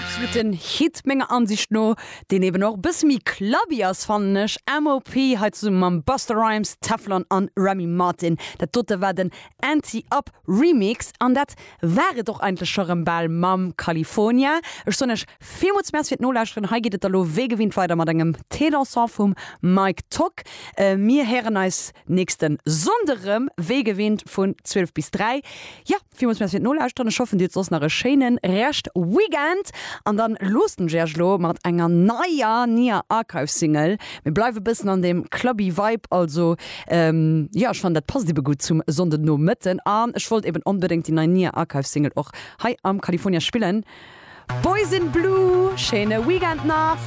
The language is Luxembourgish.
Absoluten Hit menger Ansicht no, deen eben och e bësse méi clubby ass fannen ech. MOP hei zesumme mam Busta Rhymes, Teflon an Remy Martin. Dat dote war den Anti Up Remix an dat war et och eigentlech scho rëm bal mam California. Ech soen iech villmools Merci fir d'Nolauschteren. Hei geet et da lo wéi gewinnt weider mat engem Thé dansant vum Mike Tock. Mir héieren eis nächste Sonnde rëm, wéi gewinnt vun 12 bis 3. Jo, villmools Merci fir d'Nolauschteren. Ech hoffen dir hutt soss nach e schéine Rescht Weekend an dann loossen ech iech elo mat enger neier Nia Archive Single. Mir bleiwe bëssen an deem clubby Vibe, also jo ech fannen dat passt ebe gutt zum Sonndenomëtten an ech wollt eben onbedéngt déi nei Nia Archive Single och hei am California spillen. Boys in Blue, schéine Weekend nach.